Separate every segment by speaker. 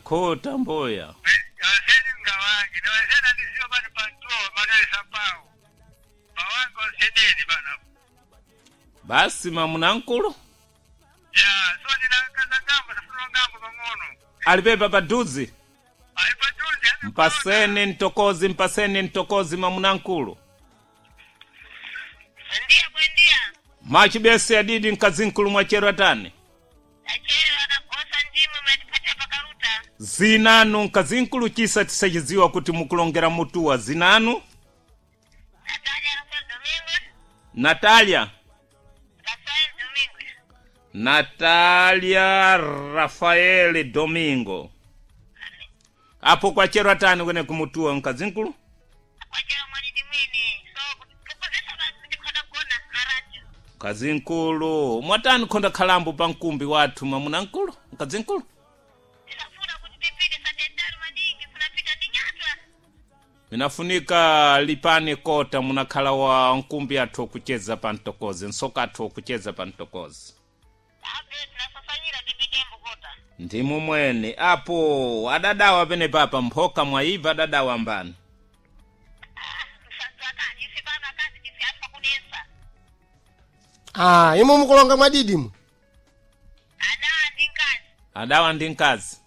Speaker 1: Takhota mboya.
Speaker 2: Onseni ngawange niwezena ndizio bano pantuo Manuel Sapao bawange onseneni bano.
Speaker 1: Basi mamunankulu
Speaker 2: Ya so ndinakaza ngambo safuno ngambo pang'ono.
Speaker 1: alipepa paduzi.
Speaker 2: Aipatunzi.
Speaker 1: Mpaseni ntokozi, mpaseni ntokozi mamunankulu.
Speaker 3: Ndiya bwendiya.
Speaker 1: Machibese adidi mkazinkulu mwachero atani.
Speaker 3: Achero akagosa ndimwe matipatia pakaruta.
Speaker 1: Zinanu mkazinkulu chisa tisachidziwa kuti mukulongera mutuwa zinanu.
Speaker 3: Natalia Rafael Domingo.
Speaker 1: Natalia.
Speaker 3: Rafael Domingo.
Speaker 1: Natalia Rafael Domingo. Apo kwachero atani kwene kumutuwa mkazinkulu?
Speaker 3: Kwachero mwanidi mwini. So kukozesa basi ndikhoda kuona na radio.
Speaker 1: Mkazinkulu mwatani khonda khalambo pa mkumbi wathu mamunankulu mkazinkulu.
Speaker 3: Tisafuna kuti tipite satentano maningi funapita ndi nyatwa.
Speaker 1: Minafunika lipani kota munakhala wa nkumbi athu okucheza pa mtokozi nsoka athu okucheza pa mtokozi.
Speaker 3: Abe tinasafanyira tipite mbukota.
Speaker 1: Ndimu mwene apo adadawa pene papa mphoka mwayibva adadawa mbani.
Speaker 3: Ah, msadzakani ife pano akazi tife afa kunesa.
Speaker 4: Ah, imwe mukulonga mwadidimu.
Speaker 3: Adawa ndi nkazi.
Speaker 1: Adawa ndi mkazi.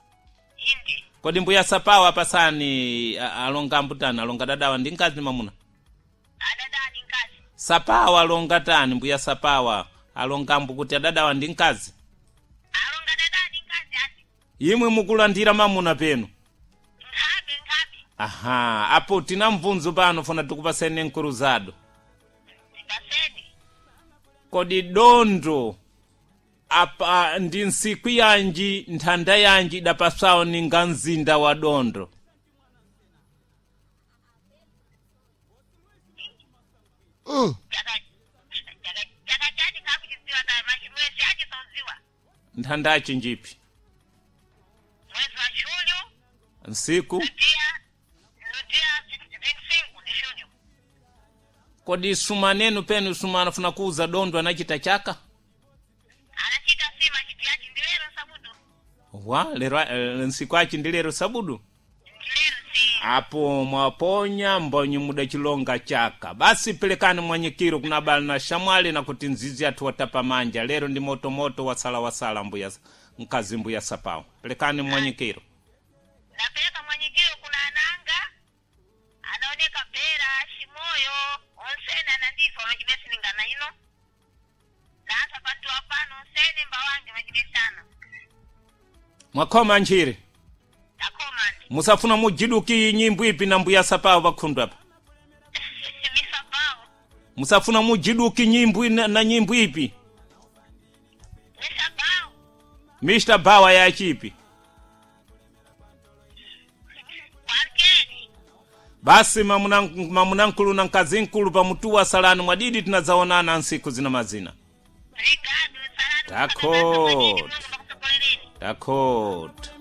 Speaker 3: Inde.
Speaker 1: Kodi mbuya sapawa pasani alonga ambutani alonga dadawa ndi mkazi ndi mamuna?
Speaker 3: Adadawa ndi nkazi.
Speaker 1: Sapawa alonga tani mbuya sapawa alonga ambu kuti adadawa ndi mkazi.
Speaker 3: Alonga dadawa ndi nkazi ati.
Speaker 1: Imwe mukulandira mamuna penu.
Speaker 3: Nkhabe nkhabe.
Speaker 1: Aha, apo tina mvunzo pano funa tikupaseni nkuruzado.
Speaker 3: Tipaseni.
Speaker 1: Kodi dondo apa ndi ntsiku yanji nthanda yanji idapasawo ninga mzinda wa dondo.
Speaker 3: Chaka chaka chaka chati kakuchidziwa ta mwezi achi saudziwa.
Speaker 1: Nthanda achi njipi?
Speaker 3: Mwezi wa Julho
Speaker 1: Nsiku?
Speaker 3: no dia no dia 25 de julho.
Speaker 1: Kodi sumanenu penu sumana funa kuuza dondo anachita chaka?
Speaker 3: Anachita sima chidiachi ndi lero sabudu.
Speaker 1: Wa lero nsiku achi ndi lero sabudu.
Speaker 3: Ndi lero si.
Speaker 1: Apo mwaponya mbonyi mudachilonga chaka. Basi pelekani mwanyikiro kuna bali na shamwali na kuti nzizi athu watapa manja. Lero ndi motomoto wasala wasala mbuya mkazi mbuya sapawo. Pelekani mwanyikiro.
Speaker 3: Napeleka mwanyikiro kuna ananga anaoneka Bera Shimoyo onsene anandifa machibesiningana ino nasa pantu apano onsene mbawange machibesana.
Speaker 1: Mwakhoma nchiri.
Speaker 3: Takomandi.
Speaker 1: Musafuna mujiduki nyimbo ipi na mbuya sapawo pakhundu apa.
Speaker 3: Misabao.
Speaker 1: Musafuna mujiduki nyimbo na nyimbo ipi.
Speaker 3: Misabao.
Speaker 1: Mr. Bawa yachipi.
Speaker 3: Kwankeni.
Speaker 1: Basi mamunankulu na mkazinkulu pamutuwa salani mwadidi tinadzaonana nsiku zina mazina.
Speaker 3: Rigado salani.
Speaker 1: Takot.
Speaker 3: Mungu bakusogolereni.
Speaker 1: Takot.